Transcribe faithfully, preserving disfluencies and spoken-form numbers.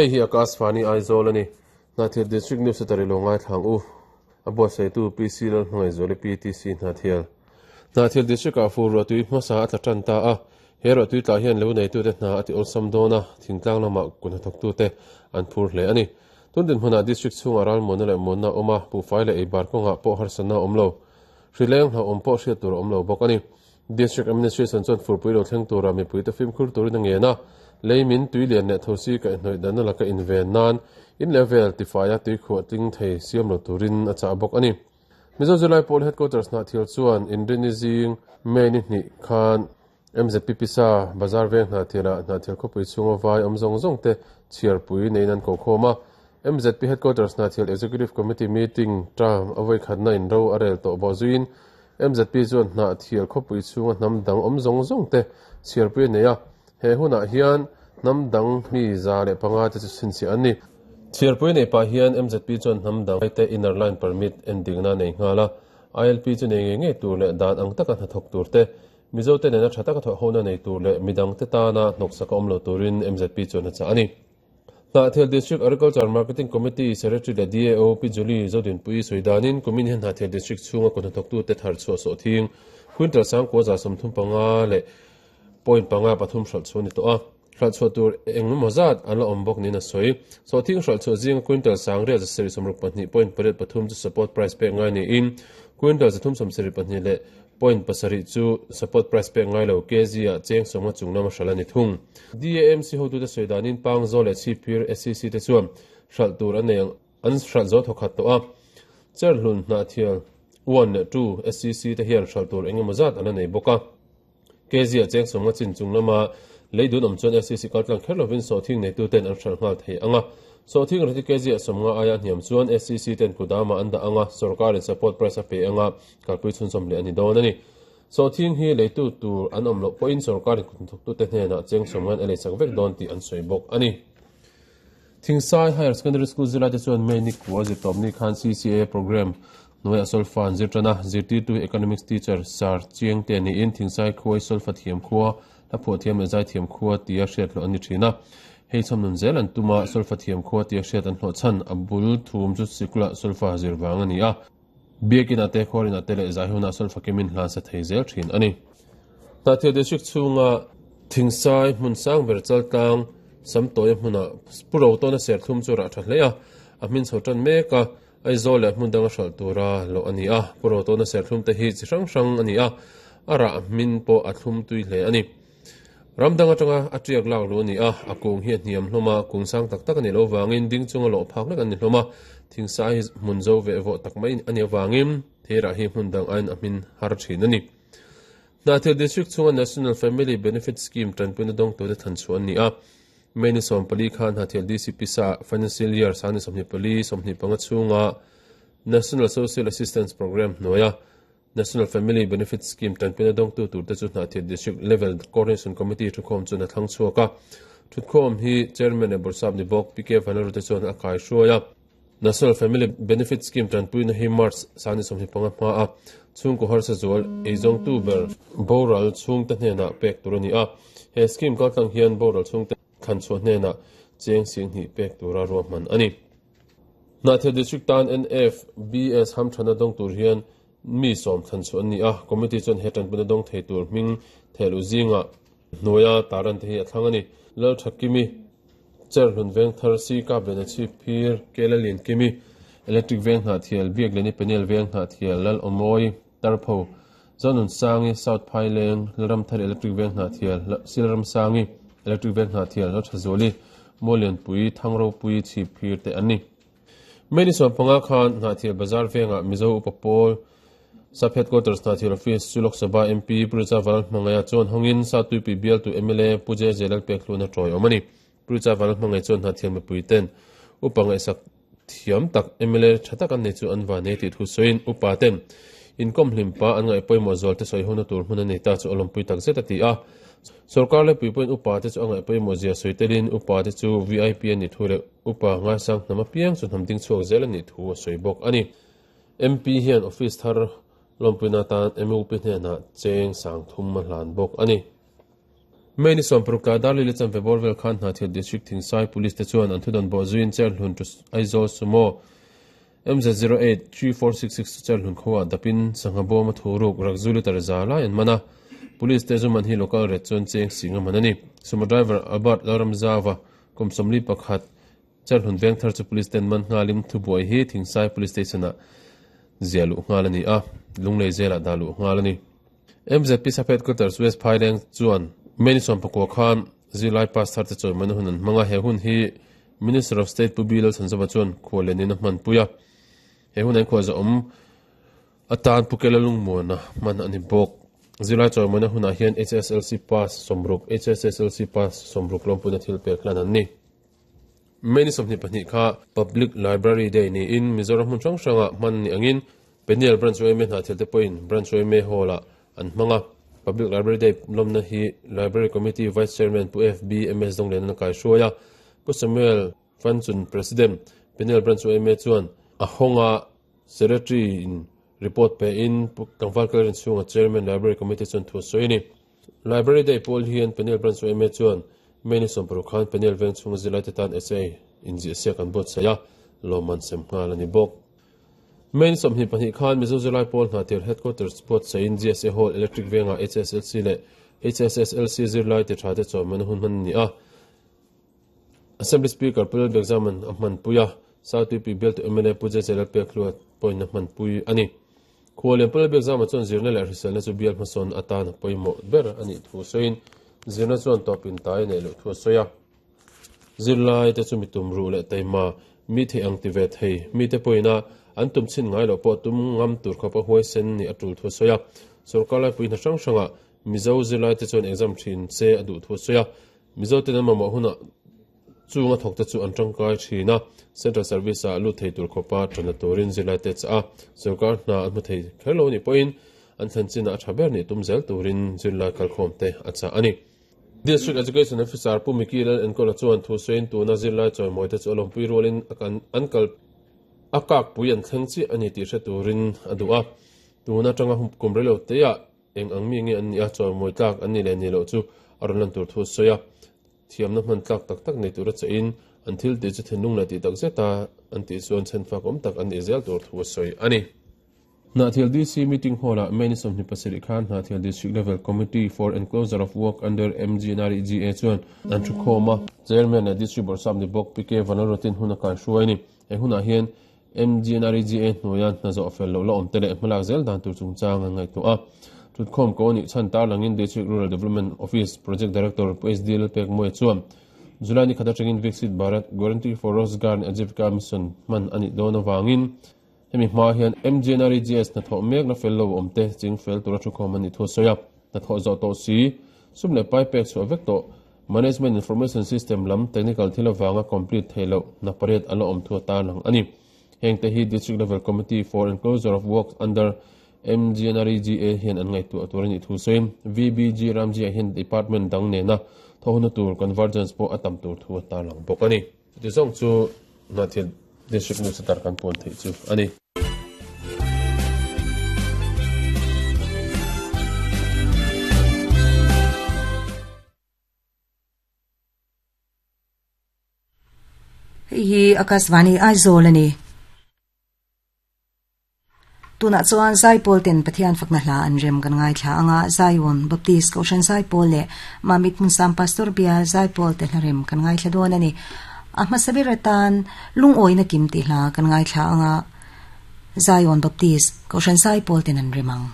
Hei hi Akashvani Aizawl ani. Hnahthial District News atari lo ngai thlang u. A buatsaihtu P C Lalhmangaihzuali P T C Hnahthial. Hnahthial District ah fur ruahtui hmasa a tla tan ta a. He ruahtui tlah hian lo neitute hna a ti awlsam dawn a, thingtlang lamah kun hnathawktute an phur hle ani. Tun dinhmunah district chhungah ralmuanna leh muanna a awm a, buhfai leh eibar kawngah pawh harsatna a awm lo. Hrileng hlauhawm pawh hriat tur a awm lo bawk ani. District Administration chuan furpui lo thleng tura mipuite fimkhur turin a ngen a, lei min tui lian leh thosi kaihhnawih danna laka inven nan in level tifaia tui khuah tling thei siam lo turin a chah bawk ani. Mizo Zilai Pawl Headquarters Hnahthial chuan Inrini zing May ni hnih khan M Z P Pisa Bazar veng Hnahthialah Hnahthial khawpui chhunga vai awm zawng zawng te chhiarpui neiin an kokhawm a. M Z P Headquarters Hnahthial Executive Committee meeting term a vawi khatna in ro a rel tawh bawh zuiin M Z P chuan Hnahthial khawpui chhunga hnam dang awm zawng zawng te chhiarpui a nei a. He hunah hian hnam dang mi za leh panga te chu chhinchhiah an ni. Chhiarpui nei pah hian M Z P chuan hnam dang te inner line permit endingna nei nghal a. I L P chu nei ngei ngei tur leh dan ang taka hnathawk tur te, Mizo te nena tha taka thawhhona nei tur leh midang te tana hnawksak a awm lo turin M Z P chuan a chah a ni. Hnahthial District Agriculture Marketing Committee Secretary leh D A O Pi Julie Zodinpui sawi danin kumin hian Hnahthial District chhunga kut hnathawktute thar chhuah sawh thing quintal sangkua za sawmthum panga leh point panga pathum hralh chhuah a ni tawh a. Hralh chhuah tur engemaw zat an la awm bawk niin a sawi. Sawhthing hralh chhuah zinga quintal sangriat za sarih sawmruk pahnih point pariat pathum chu support price pek ngai niin quintal zathum sawmsarih pahnih leh point pasarih chu support price pek ngai lo K G ah cheng sawmnga chung lama hralh a ni thung. D A M C hotute sawi danin Pangzawl leh Chhipphir S C C te chuan hralh tur an nei ang an hralh zo thawkhat tawh a. Cherhlun Hnahthial one leh two S C C te hian hralh tur engemaw zat an la nei bawk a. K G ah cheng sawmnga chin chung lama lei dun awm chuan S C C kaltlang kher lovin sawhthing neituten an hralh nghal thei ang a. Sawhthing rati K G ah sawmnga aia hniam chuan S C C ten kudama an dah ang a, sorkarin support price a pe ang a, kalpui chhunzawm leh a ni dawn a ni. Sawhthing hi leitu tur an awm loh pawhin sorkarin kutthawktute hnenah cheng sawmngain a leisak vek dawn tih an sawi bawk a ni. Thingsai Higher Secondary School zirlaite chuan May ni kua zirtawpni khan C C A program hnuaiah solfa an zir tan a, zirtirtu hi Economics teacher Sir Chiangte niin Thingsai khuai solfa thiam khua, hla phuah thiam leh zai thiam khua tia hriat hlawh an ni thin a. Hei chhawmnun zel an tum a, solfa thiam khua tia hriat an hlawh chhan a bul thum chu sikula solfa zir vang a ni a. Biakin ah te, khuarin ah te leh zai hunah solfa kemin hlan sa thei zel thin a ni. Hnahthial District chhunga Thingsai hmun sang ber chaltlang Samtawia hmunah Pu Rotawna serthlum chu rah tha hle a, a hmin chho tan mek a, Aizawl leh hmun danga hralh tura loh a ni a. Pu Rotawna serthlum te hi chi hrang hrang a ni a, a rah hmin pawh a thlum tui hle a ni. Ram dang atanga a tiak lak luh a ni a, a kung hi a hniam hlawm a, kung sang tak tak a nih loh vangin ding chunga lawh phak lek an ni hlawm a, thingsai hi hmun zo veh vawh tak mai a nih avangin theirah hi hmun dang aiin a hmin har thin a ni. Hnahthial District chhunga National Family Benefit Scheme tanpuina dawngtute than chhuah an ni a, May ni sawm pali khan Hnahthial D C P sa Financial Year sangni sawmhnih pali sawmhnih panga chhunga National Social Assistance Programme hnuaia National Family Benefit Scheme tanpuina dawngtu turte chu Hnahthial District Level Coordination Committee thukhawm chuan a thlang chhuak a. Thukhawm hi Chairman leh Bawrhsap ni bawk P K Vanlalrute chuan a kaihruai a. National Family Benefit Scheme tanpuina hi March sangni sawmhnih panga hma a chhungkaw harsa zual eizawngtu ber boral chhungte hnenah pek tur a ni a. He scheme kaltlang hian boral chhungte thlanchhuah hnenah cheng singhnih pek tura ruahman a ni. Hnahthial District tan N F B S hamthana dawng tur hian mi sawm thlanchhuah an ni a, committee chuan he tanpuina dawng thei tur hming thehluh zingah hnuaia taran te hi a thlang a ni. Lalthakimi, Cherhlun veng thar si kap leh na chhip phir, Kela Liankimi, Electric veng Hnahthial, Biakleni Peniel veng Hnahthial, Lal Awmawi, Tarpho, Zonun Sangi, South Phaileng, Lalramthar Electric veng Hnahthial, Silramsangi, Electric veng Hnahthial, Lalthazuali, Muallianpui, Thangropui, chhip phir te an ni. May ni sawm panga khan Hnahthial Bazar vengah Mizo Upa Pawl Sub Headquarters Hnahthial Office chu Lok Sabha M P Pu Richa Vanlalhmangaia chuan hawngin Satuipui bialtu M L A Pu J J Lalpekhluna tawi awm a ni. Pu Richa Vanlalhmangaia chuan Hnahthial mipui ten upa ngaihsak thiam tak M L A tha tak an nei chu an van nei tih thu sawiin upa ten inkawm hlim pa an ngaih pawimawh zual te sawi hona tur hmun a nei ta chu a lawmpui tak zet a ti a. Sorkar leh pui pawhin upa te chu a ngaih pawimawh zia sawi telin upa te chu V I P a nih thu leh upa ngaisang hnam apiang chu hnam ding chhuak zel a nih thu a sawi bawk a ni. M P hian office thar lawmpuina atan M U P hnenah cheng sang thum a hlan bawk a ni. May ni sawmparuk tlai dar li chan vebor vel khan Hnahthial District Thingsai Police te chuan an thudan bawh zuiin Cherhlun to Aizawl Sumo M Z zero eight three four six six Cherhlun khawa dapin sangha bawm a thuruk rakzu litre za lai an mana. Police te zuman hi local ret chuan cheng singa manani. Sumo driver Albert Lalramzawa kum sawmli pakhat Cherhlun veng thar chu police ten man nghalim thubuai hi Thingsai Police Station a zialu nghalani a lunglei zela dalu nghalani. M Z P Sap Headquarters West Phaileng chuan May ni sawmpakua khan zilai pass thar te chawi man hun an hmanga he hun hi Minister of State Pu Bilal Sanzava chuan khualenin a hman puia. He hun an khuwa za awm atan Pukela lungmuana man ani bawk. Zilai chawi man hunah hian H S L C pass sawmruk H S S L C pass sawmruk lawmpuna thil pek hlan an ni. May ni sawmhnih pahnih kha Public Library Day niin Mizoram hmun hrang hranga hman ni angin Peniel Branch Y M A Hnahthial te pawhin Branch Y M A Hall ah an hmanga. Public Library Day lawmna hi Library Committee Vice Chairman Pu F B M S Donglen an kai hruaia. Pu Samuel Fanchun President Peniel Branch Y M A chuan a hawnga Secretary in report pe in Tlangval Kalrin chhunga Chairman Library Committee chuan thu sawi ni. Library Day pawl hian Peniel Branch Y M A chuan May ni sawmparuk khan Peniel veng chhunga zilai te tan S A in ziah siak an buatsaih a lawmman sem nghal ani bawk. May ni sawmhnih pahnih khan Mizo Zilai Pawl Hnahthial Headquarters buatsaih in G S A Hall Electric Venga H S L C leh H S S L C zirlai ti tha te chawiman hun hman ni a. Assembly Speaker Pu Lalbiakzaman a hman pui a. South U P Bill to M L A Pu J J Lalpek hluat pawhin a hman pui ani. Khuallian Pu Lalbiakzama chuan zirna leh hriselna chu bial hmasawn atan a pawimawh ber ani thu sawiin zirna chuan tawpin tai nei loh thu a sawi a. Zirlai te chu mi tum ruh leh taima mi thei ang ti ve thei mi te pawhina an tum chin ngai loh pawh tum ngam tur khawp a huai sen ni a tul thu a sawi a. Sorkar lai puihna hrang hranga Mizo zirlai te chuan exam thin se a duh thu a sawi a. Mizo ten an mamawh hunah chunga thawk te chu an tangkai thin a. Central Service ah lut thei tur khawpa tana turin zirlai te cha a. Sorkar hna an hmu thei kher lo ni pawhin an thlen chinah a tha ber ni tum zel turin zirlai kalkhawm te a cha ani. District Education Officer Pu Miki Lal Enkola chuan thu sawiin tuna zirlai chawimawi te chu a lawmpui rualin an kal a kak pui an thleng chi ani tih hre turin a duh a. Tuna tanga kum relo te ah eng ang mi nge an ni a chawimawi tlak an ni leh ni loh chu a rawn lan tur thu sawi a. Thiamna hman tlak tak tak nei tur a chein an thil tih chu thinlung leh tih tak zeta an tih chuan chhenfak awm tak an ni zel tur thu sawi ani. Hnahthial D C meeting hall ah May ni sawmhnih pasarih khan Hnahthial District Level Committee for Enclosure of Work under M G N R E G A chuan an thu khawm a. Chairman leh District Borsap ni bawk P K Vanlalrotin hun a kai hruai ni. He hunah hian M G N R E G A hnuaia hna zawh fel loh la awm te leh hmalak zel dan tur chungchang an ngaihtuah a. Thutkhawm ko ni chan tar langin District Rural Development Office Project Director Pu S D Lalpek Moe chuan July ni khata tangin Viksit Bharat Guarantee for Rozgar and Ajivika Mission man ani dawn awangin hemi hma hian M G N R E G S na thaw mek na fel lo awm te ching fel tura thukhawm ani thu sawi a. Na thaw zawh tawh si sum leh pai pek chhuah vek tawh Management Information System lam technical thil awanga complete thei loh na pariat ala awm thu tar lang ani. Heng te hi District Level Committee for Enclosure of Works under M G N R E G A hian an ngaihtuah tur ani thu sawiin V B G Ramji ah hian department dang nena thawhna tur convergence pawh a tam tur thu tar lang bawk ani. Ti zawng chu Hnahthial District News tar kan puan thei chu ani. Hi Akashvani Aizawl ani. Tuna chuan Zaipawl ten Pathian fakna hla an rem kan ngai thla anga Zion Baptist Kohhran Zaipawl leh Mamit Hmunsam Pastor Bial Zaipawl te hla rem kan ngai thla dawn ani. A hmasabir atan lungawi na kim ti hla kan ngai thla anga Zion Baptist Kohhran Zaipawl ten an remang.